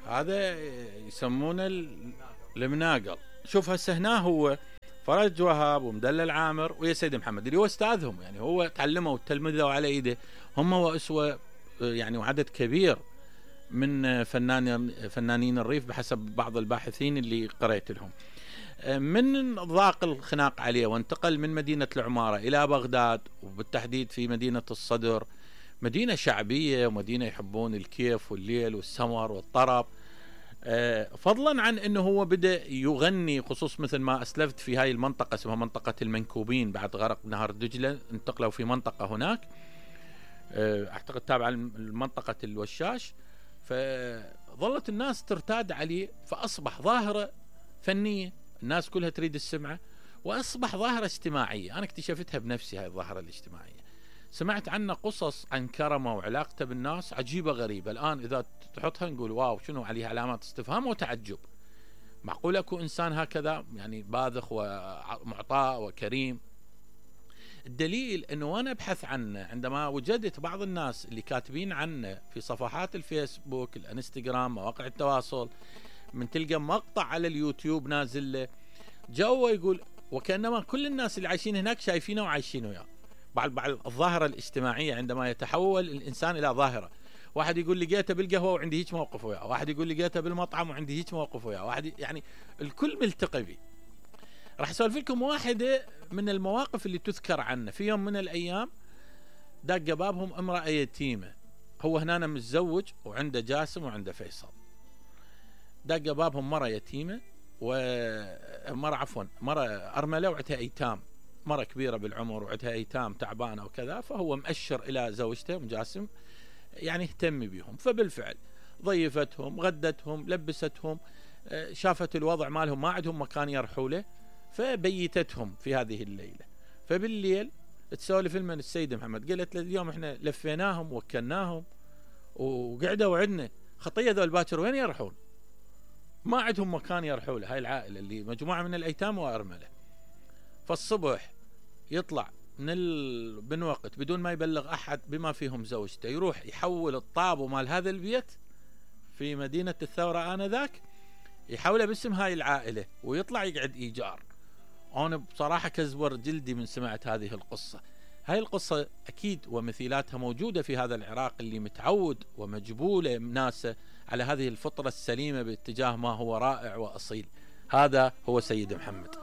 هذا يسمونه المناقل. شوف هسه هنا هو فرج وهاب ومدلل عامر ويا سيد محمد اللي هو استاذهم، يعني هو تعلموا وتلمذوا على ايده هم واسوه يعني، وعدد كبير من فنانين الريف بحسب بعض الباحثين اللي قرأت لهم. من ضاق الخناق عليه وانتقل من مدينة العمارة إلى بغداد، وبالتحديد في مدينة الصدر، مدينة شعبية ومدينة يحبون الكيف والليل والسمر والطرب، فضلا عن أنه هو بدأ يغني، خصوص مثل ما أسلفت في هاي المنطقة اسمها منطقة المنكوبين بعد غرق نهر دجلة، انتقلوا في منطقة هناك أعتقد تابعة لمنطقة الوشاش، فظلت الناس ترتاد عليه، فأصبح ظاهرة فنية الناس كلها تريد السمعة، وأصبح ظاهرة اجتماعية. أنا اكتشفتها بنفسي هاي الظاهرة الاجتماعية، سمعت عنه قصص عن كرمه وعلاقته بالناس عجيبة غريبة، الآن إذا تحطها نقول واو شنو عليها علامات استفهام وتعجب. معقول أكو إنسان هكذا يعني باذخ ومعطاء وكريم؟ الدليل أنه أنا أبحث عنه عندما وجدت بعض الناس اللي كاتبين عنه في صفحات الفيسبوك الانستغرام مواقع التواصل، من تلقى مقطع على اليوتيوب نازل له جو يقول وكأنما كل الناس اللي عايشين هناك شايفينه وعايشين وياه. بعض الظاهرة الاجتماعية عندما يتحول الإنسان إلى ظاهرة، واحد يقول لقيته بالقهوة وعندي هيك موقف وياه، واحد يقول لقيته بالمطعم وعندي هيك موقف وياه، واحد يعني الكل ملتقي به. راح اسولف لكم واحدة من المواقف اللي تذكر عنه. في يوم من الأيام دق بابهم امرأة يتيمة، هو هنا متزوج وعنده جاسم وعنده فيصل، دق بابهم مرة يتيمة مرة أرملة وعندها أيتام، مرة كبيرة بالعمر وعندها أيتام تعبانة وكذا، فهو مؤشر إلى زوجته جاسم يعني اهتم بهم، فبالفعل ضيفتهم غدتهم لبستهم، شافت الوضع مالهم ما عندهم مكان يرحوا له، فبيتتهم في هذه الليلة. فبالليل تسولف لمن السيد محمد، قالت له اليوم احنا لفيناهم وكلناهم وقعدوا عندنا، خطية ذول باكر وين يرحون؟ ما عندهم مكان يرحوا له، هاي العائلة اللي مجموعة من الأيتام وأرملة. فالصبح يطلع من وقت بدون ما يبلغ أحد بما فيهم زوجته، يروح يحول الطابو مال هذا البيت في مدينة الثورة آنذاك، يحوله باسم هاي العائلة ويطلع يقعد إيجار. أنا بصراحة كزور جلدي من سمعت هذه القصة. هاي القصة أكيد ومثيلاتها موجودة في هذا العراق اللي متعود ومجبولة ناسه على هذه الفطرة السليمة باتجاه ما هو رائع وأصيل. هذا هو سيد محمد.